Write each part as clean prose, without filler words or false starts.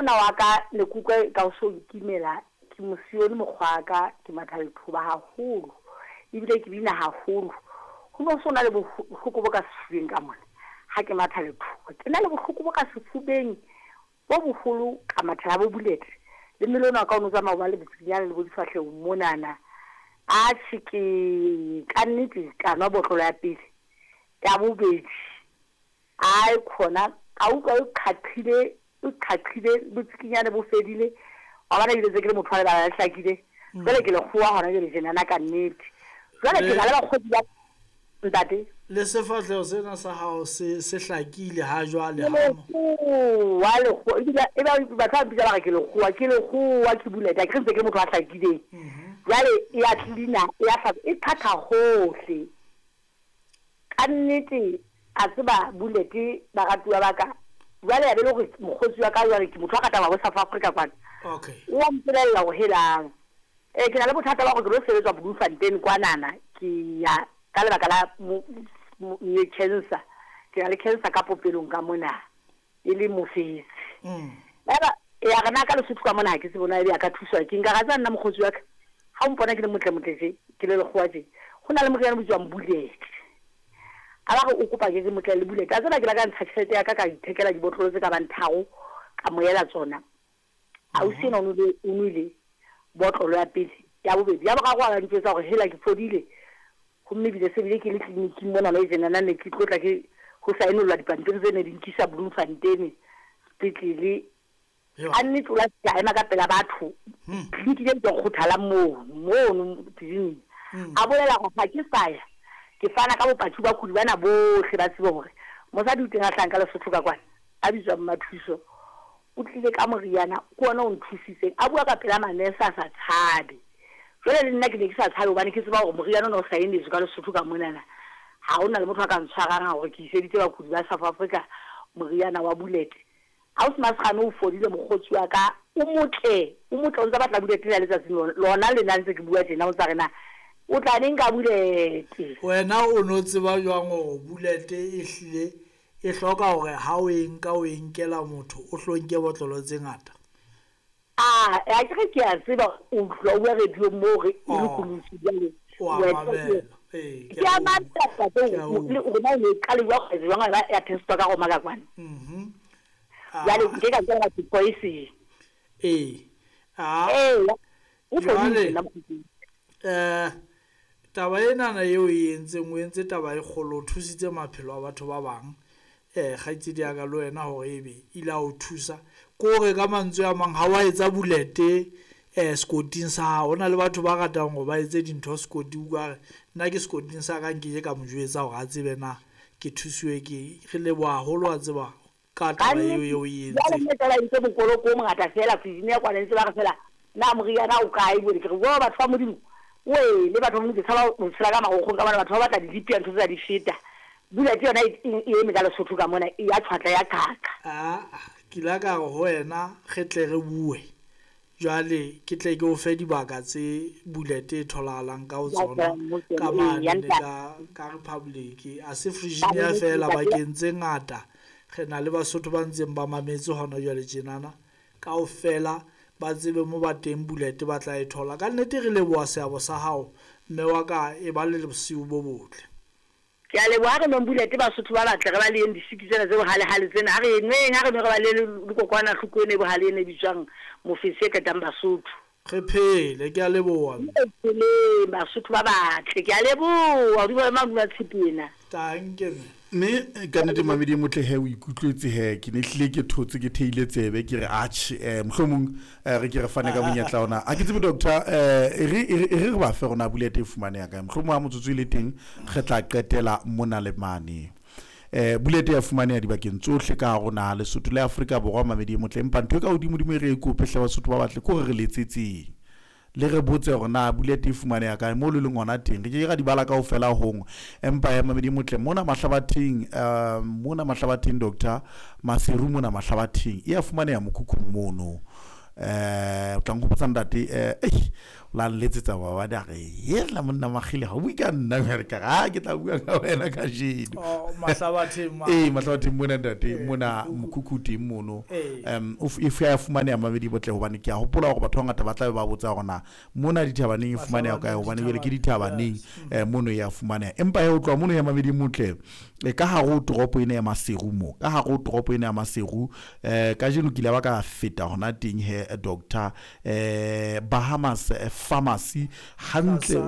Monna wa ka ne ke utlwa e ka o so nkimela, ke mosione mokgwa wa ka, ke matha lethoba haholo, ebile ke bina haholo. Ho no so na le bohloko bo ka sefubeng ka mona ha ke matha lethoba. Ke na le bohloko bo ka sefubeng bo boholo ka mathela bo bulete. Le mmele ona wa ka o no tsamaya o ba le botsikinyane le bo difahlehong monana. Atjhe ke ka nnete ka nwa botlolo ya pele, ya bobedi. Ai khona ka utlwa e qhaqhile e qhaqhile botsikinyane bo fedile wa bona ebile tse ke le motho wa lebala le hlakile jwale ke lekgowa hona jwale tjenana ka nnete jwale ke na le bakgotsi ba ntate. Le sefahleho sena sa hao se se hlakile ha jwale ha lekgowa lekgowa ebile e ba batho ba mpitsa ba re ke lekgowa ke lekgowa ke buleta ke re ntse ke le motho a hlakileng jwale e ya cleaner e ya hlatswa e qhaqha hohle. Ka nnete a tseba Bullet baratuwa ba ka jwale ya be le hore mokgotsi wa ka jwale ke motho a ratang wa bo South Africa kwana Okay. o wa mpolella hore helang eh ke na le bothata ba hore ke lo sebetswa Bloemfontein kwanana ke ya ka lebaka la cancer ke na le cancer ka popelong ka mona e le mofetse yaba ya re na ka Lesotho ka mona ha ke tsebe na ebe a ka thuswa ke nka ra tseba nna mokgotsi wa ka ha o mpona ke le motle motle tje ke le lekgowa tje go na le moriana o bitswang Bullet a ba re o kopa ke ke motle le Bullet a tseba ke la ka ntsha tjhelete ya ka ka ithekela dibotlolo tse ka bang tharo ka mo ela tsona ausi ena o nwele o nwele botlolo ya pele ya bobedi ya boraro a ba ntjwetsa hore hela ke fodile gomme ebile se bile ke le tleliniking mona no tjenana ne ke tlo tla ke ho saenollwa dipampiri tse ne di nkisa Bloemfontein sepetlele a nnete o la fihla a ema ka pela batho tleliniki e bitswang Kgothalang moo mono tleliniking a bolela gore ga ke sa ya ke fana ka bopaki bakudi bana bohle ba tsebe gore mosadi o teng a hlahang ka Lesotho ka kwana a bitswang Mmathuso O tlile ka moriana, ke wona o nthusitseng. A bua ka pela manese a sa tshabe. Jwale le nna ke ne ke sa tshabe hobane ke tseba hore moriana ona o saenetswe ka Lesotho ka monana. Ha ho na le motho a ka ntshwarang hore ke iseditse bakudi ba South Africa moriana wa Bullet. Ausi Masegane o fodile mokgotsi wa ka, o motle, o motle o ntsa batla Bullet la letsatsing lona lena ntse ke bua tjena o ntsa re na o tla neng ka Bullet. Wena o no tseba jwang hore Bullet e hlile E hloka hore ha o e nka o e nkela motho o hlo nke botlolo tse ngata. A akere ke a tseba o utlwa o bua radio-ong moo hore e Oh, lokoloswi jwale o a wena mamela. Ee, ke ke a a utlwa. mamela ntate Ke a utlwa. hore na o ne o qale jwang wa etsa jwang ya ba ya testwa ka Roma ka kwana. Mhm. Jwale Ah. nke ka nka ke poison. Ee. Ah. Ee, o fodile Jwale nna mokgotsi. eh Taba enana eo e entseng, o entse taba e kgolo, o thusitse maphelo a batho ba bang. Um kgaitsedi ya ka le wena hore ebe ile a o thusa. Ke hore ka mantswe a mang ha wa etsa bulete um sekoting sa hao. Ho na le batho ba ratang hore ba etse dintho sekoting, o ka re nna ke sekoting sa ka nkeke ka mo jwetsa hore a tsebe na ke thusiwe ke eng. Re leboha haholo wa tseba ka taba eo Kannete, eo e jwale entseng. mme feela entse mokoloko o mongata feela fridging ya kwana ntse ba re feela na moriana o kae jwale ke re wo batho ba Modimo wee le batho ba Modimo ke tshaba ho tshela ka marokgong ka mona batho ba batla dilipi ntho tse di feta bula ke yona e e eme ka Lesotho ka mona e ya tjhwatla ya qhaqa. Aa, ke ile ka re ho wena re tle re bue jwale ke tle ke o fe dibaka tse bullet e tholahalang ka ho Ya tsona tswang ka ho tsona, ee, ya mane ntate. ka ka Republic. A se Ka Virginia nnete feela ntate. bakeng tse ngata re na le Basotho ba ntseng ba mametse hona jwale tjenana kaofela ba tsebe mo ba teng bullet ba tla e thola. Ka nnete re leboha seabo sa hao mme wa ka e ba le bosiu bo botle. Ke a leboha, ha re nweng bullet Basotho ba batle re baleheng disiki tsena tse bohalehale tsena, ha re nweng, ha re nwe re balehe le kokwanahloko ena e bohale ena e bitswang mofetshe e qetang Basotho. Re phele, ke a leboha mme. Re pheleng Basotho ba batle, ke a leboha, hodimo le mahodimo a tshepe ena. Tanke mme. Mme ka nnete mamedi e motle he o ikutlwetse he ke ne hlile ke thotse ke theile tsebe ke re atjhe eh mohlomong eh, re ke re fane ka monyetla ona a ke tsebe doctor eh e re e re e re re ba fe rona bulete e fumaneha kae mohlomong ha motsotso e le teng re tla qetela mona le mane eh bulete ya fumaneha dibakeng tsohle ka hare ho naha Lesotho le Afrika Borwa mamedi e motle empa ntho e ka hodimo-dimo e re e kope hle Basotho ba batle ke hore re letsetseng Le re botse hore na bulete e fumaneha kae moo le leng hona teng. Re ke ke ra di bala kaofela hong. Empa he mamedi e motle, mona Mahlabatheng, uh, mona Mahlabatheng Doctor Maseru mona Mahlabatheng e a fumaneha mokhukhung mono. Eh, o tla nkgopotsa ntate, eh, ei, La nletsetsa maobane a re hela monna Makgile ga o bue ka nna re ka ga ke tla bua ka wena kajeno. Oh, Mahlabatheng ma. Ee, Mahlabatheng mona ntate, mona mokhukhu teng mono. E ya fumaneha mamedi botle, hobane ke a hopola hore batho ba bangata ba tla be ba botsa hore na mona dithabaneng e fumaneha kae, hobane jwale ke dithabaneng mono ya fumaneha. Empa he ho tloha mono ya mamedi motle, ka hare ho toropo ena ya Maseru mo, ka hare ho toropo ena ya Maseru, kajeno ke ile ba ka feta hona teng he doctor, Bahamas Pharmacy hantle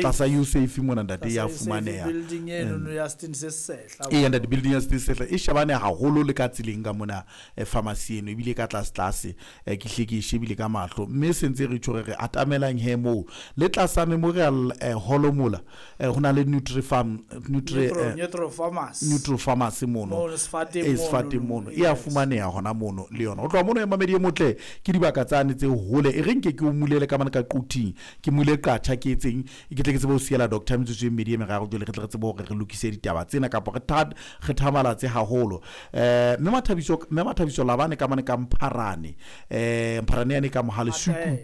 tlasa USAFE mona ntate ya fumaneha. Building eno no ya Stin se sehla. Ee ntate, building ya Stin sehla e shebane haholo le ka tseleng ka mona pharmacy eno, ebile ka tlase tlase, ke hle ke e shebile ka mahlo, mme se ntse re tjho re re atamelang he moo le tlasa Memorial Hall mola, ho na le Nutri-Farm, Nutri Nutro Pharmacy. Nutro Pharmacy mono. Mono sefateng. E sefateng mono e a fumaneha hona mono le yona. Ho tloha mono ya mamedi e motle, ke dibaka tsane tse hole, e re nke ke o mulele ka mane ka Quthing, ke mule qatjha ke etseng, ke tle ke tsebe ho siela doctor metsotso e mmedi e meraro, jwale re tle re tsebe hore re lokise ditaba tsena kapa re thamalatse haholo. Mme Mathabiso Labane ka mane ka Mpharane, Mpharane yane ka Mohale Suku,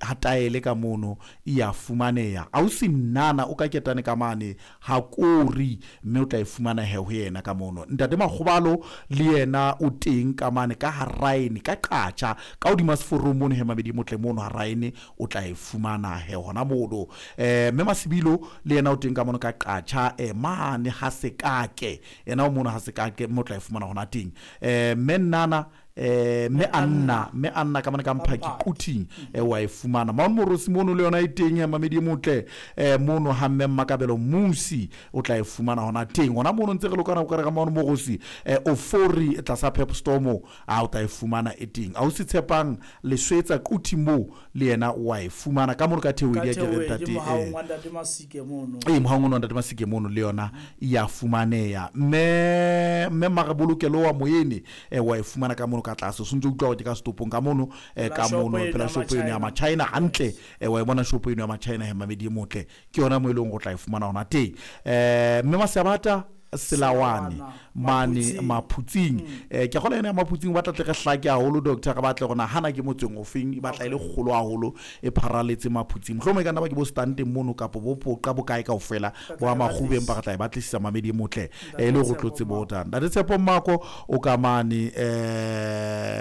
Hataele ka mono e ya fumaneha. Ausi Nnana o ka ketane ka mane ha kori, mme o tla e fumana he ho yena ka mono. Ntate Makgobalo le yena o teng ka mane ka Haraene ka Qatjha, ka hodima seforong mono he mabedi motle mono Haraene, o tla e fumana he hona mono. Mme Masibilo le yena o teng ka mono ka Qatjha, mane ha Sekake, yena o mono ha Sekake, mme o tla e fumana hona teng. Mme Nnana, mme Anna ka mane ka Mphaki Quthing, wa e fumana. Maone Morosi mono le yona e teng ya mamedi e motle, mono ha mme Mmakabelo Musi o tla e fumana hona teng hona mono. Ntse re lokana o ka re ka Maone Morosi, Ofori tlasa Pep Store mo, a o tla e fumana e teng. A o se tshepang Leswetsa Quthing mo, le yena wa e fumana ka mono ka Theoedi ya ke re ntate. Mohaong wa ntate Masike mono. Ee, mohaong ono wa ntate Masike mono le yona ya fumaneha. Mme Marebolokelo wa Moene, wa e fumana ka mono ka tlase, o sentse utlwa hore ke ka setopong ka mono, ka mono pela shopo eno ya Machina hantle. Wa e bona shopo eno ya Machina he mamedi e motle, ke yona mo e leng go tla e fumana hona teng. Mme Masabata Selawane mane Maphutsing, ke kgola ena ya Maphutsing, ba tla tle re hlake haholo doctor, re batle hore nahana ke motseng ofeng, e batla e le kgolo haholo, e pharaletse Maphutsing. Mohlomong e ka nna ba ke bo stanteng mono kapo bo Poqa bo kae kaofela bo a Makgubeng, ba re tla e batlisisa mamedi e motle, e le hore tlo tsebe ho tang. Ntate Tshepo Mako o ka mane,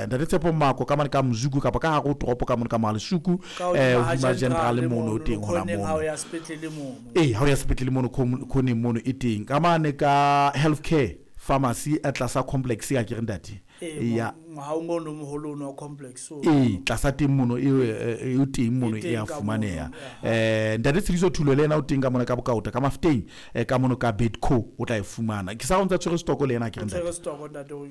ntate Tshepo Mako ka mane ka Mzuku kapa ka hare ho toropo ka mane ka Mohalesuku, hodima General mono o teng hona mono. Ee, ha o ya sepetlele mono khoneng mono e teng. Ka mane ka Healthcare Pharmacy tlasa complex ya ke re ntate ya mohaong ono moholo ono wa complex. Ee, tlasa teng mono e teng mono, e ya fumaneha. Ntate Tshediso Thulo le yena o teng ka mona ka Bokaota ka Mafeteng, ka mono ka Bedco, o tla e fumana. Ke sa o ntsa tshwere stock le yena ke re ntate.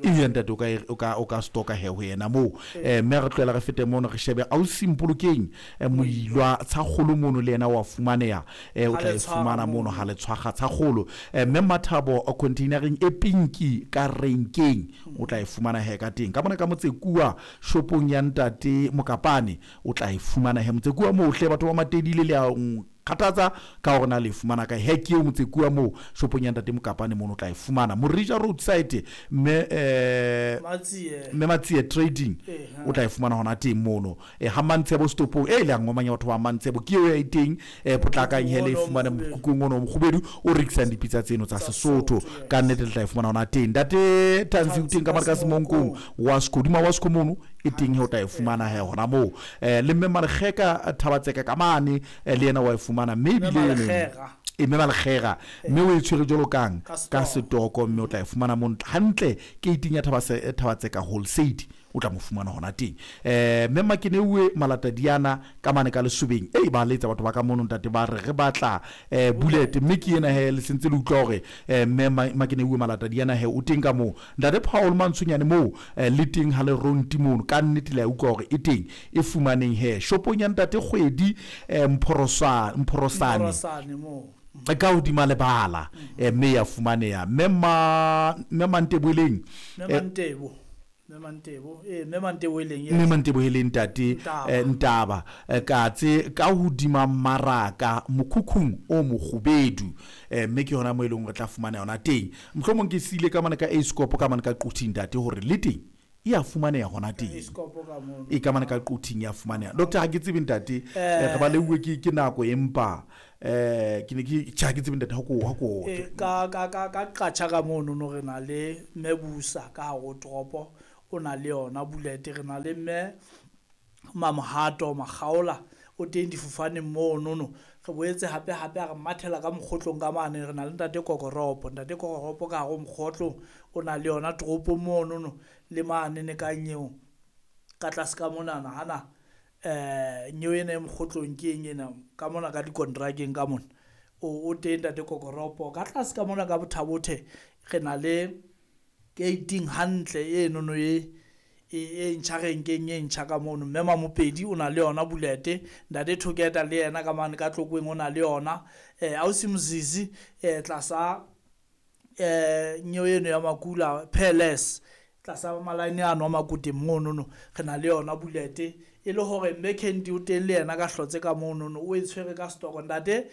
Ee ntate, o ka stocka he ho yena moo. Mme re tlohela re fete mono re shebe ausi Mpolokeng, Moilwa Tshakgolo mono le yena wa fumaneha, o tla e fumana mono ha le tshwaga Tshakgolo. Mme Mathabo containereng e pinki ka renkeng, o tla e fumana he ka teng. Ka mona ka Motsekuwa shopong ya ntate Mokapane, o tla e fumana he Motsekuwa moo hle. Batho ba Matedile le a kgathatsa ka hore na le fumana kae he, ke eo Motsekuwa moo shopong ya ntate Mokapane mono o tla e fumana. Morija Roadside, mme Matsie Trading, o tla e fumana hona teng mono. Ha Mantshebo stopong e le a ngomanya batho ba Mantshebo, ke eo ya e teng. Potlakang he le e fumane mokhukhung ono mokgubedu o rekisang dipitsa tseno tsa Sesotho, ka nnete le tla e fumana hona teng. Ntate Tansi o teng ka mane ka Semonkong Wasco, hodima Wasco mono e teng he, o tla e fumana he hona moo. Le mme Malekgeka Thabatseka ka mane, le yena wa e fumana, mme ebile e mme Malekgega, mme o e tshwere jwalo kang ka setoko, mme o tla e fumana mo hantle keiting ya Thabatseka Wholesale, o tla mo fumana hona teng. Mme Makeneuwe Malatadiana ka mane ka Lesobeng, e ba letsa batho ba ka mono ntate, ba re re batla bullet, mme ke ena he le sentse le utlwa hore mme Makeneuwe Malatadiana he o teng ka moo. Ntate Paul Mantshonyane moo, le teng ha le ronti mono, ka nnete le a utlwa hore e teng, e fumaneng he shopong ya ntate Kgwedi, Mphorosane ka hodima lebala, mme ya fumaneha. Mme Manteboeleng, mme Manteboeleng ntate Ntaba, katse ka hodima maraka mokhukhung o mokgubedu, mme ke yona mo e leng re tla fumana yona teng. Mohlomong ke siile ka mane ka Ascope ka mane ka Quthing ntate, hore le teng e a fumaneha hona teng. E ka mane ka Quthing ya fumaneha. Doctor ha ke tsebe ntate, re ba leuwe ke nako empa ke ne ke tjha ke tsebe ntate ha ko ka qatjha ka mono no re na le Mebusa ka hare toropo o na le yona bullet, re na le mme Mamohato Makgaola o teng difofaneng mono no. Re boetse hape hape a re mathela ka mokgotlong ka mane, re na le ntate Kokoropo, ntate Kokoropo ka hare mokgotlong o na le yona toropo mono no, le mane ne ka nyeo ka tlase ka monana hana nyeo ena e mokgotlong ke eng ena ka mona ka dikontrakeng ka mona o teng ntate Kokoropo. Ka tlase ka mona ka Bothabothe re na le gating hantle eno no e ntjha renkeng e ntjha ka mono, mme Mamopedi o na le yona bulete, ntate Thoketa le yena ka mane ka Tlokweng o na le yona, ausi Mzizi tlasa nyeo eno ya Makula Palace tlasa malaene ano a Makoteng mono no re na le yona bulete, e le hore mme Kendi o teng le yena ka hlotse ka mono no o e tshwere ka stock. Ntate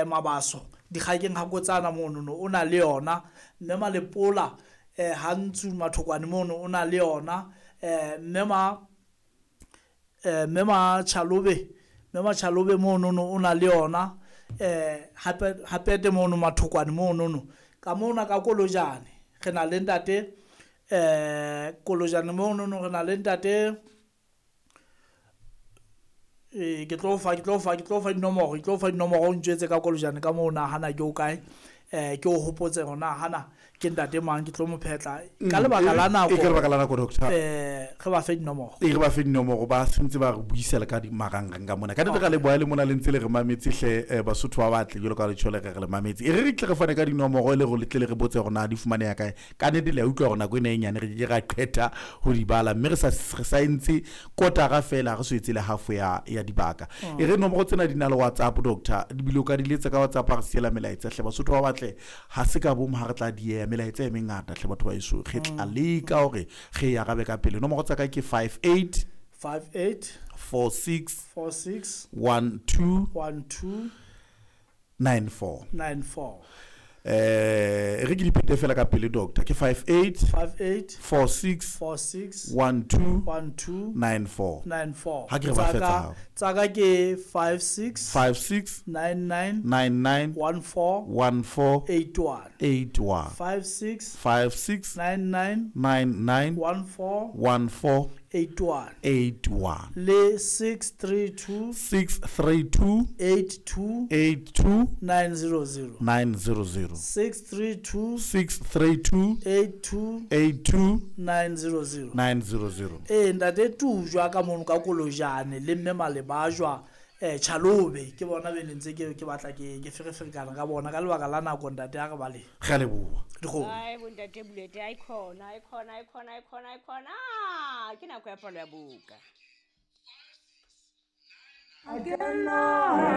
Mabaso dikgakeng ha kotsana mono no o na le yona, mme Malepola Hantsu Mathokwane mono o na le yona, mme Machalobe mono no o na le yona, hape mono Mathokwane mono no ka mona ka Kolojane re na le ntate Kolojane mono no re na le ntate ke tlo fa dinomoro o ntjwetse ka Kolojane ka moo na hana ke o kae, ke o hopotse hona hana ke ntate mang ke tlo mo phetla ka lebaka la nako, ka lebaka la nako doctor re ba fe dinomoro, re ba fe dinomoro ba sentse ba re buisela ka di marangrang ka mona ka nnete ka le boa le mona le ntse le re mametse hle Basotho ba batle jalo ka le tshole re le mametse, e re tle re fane ka dinomoro le re tle le re botse hore na di fumaneha kae. Ka nnete le a utlwa hore nako ena e nyane re ke ra qeta ho di bala, mme re sa entse kotara fela re so etse le half ya dibaka. E re nomoro tsena di na le WhatsApp doctor, di bile o ka di letsa ka WhatsApp re siela melaetsa hle Basotho ba batle ha se ka bom ha re tla di melaetsa e mengata hle batho ba eso re tla leka hore re ya arabe ka pele. Nomoro tsa ka ke 58 58 46 46 12 12 94 94. Re ke di phete fela ka pele doctor, ke 58 58 46 46 12 12 94 94. Ha ke re ba fetsa hao. Tsaka ke 56 56 99 99 14 14 81 81 56 56 99 99 14 14 81 81 le 632 632 82 82 900 900 632 632 82 82 900 900. Ntate Tujwa ka mono ka Kolojane le mme Malebajwa Chalobe ke bona be ntse ke batla ke fereferekana ka bona ka lebaka la nako ntate a re bale. Re a leboha. Dikgomo. Ai bontate Bulete ai khona ai khona ai khona ai khona ai khona, ke nako ya palo ya buka.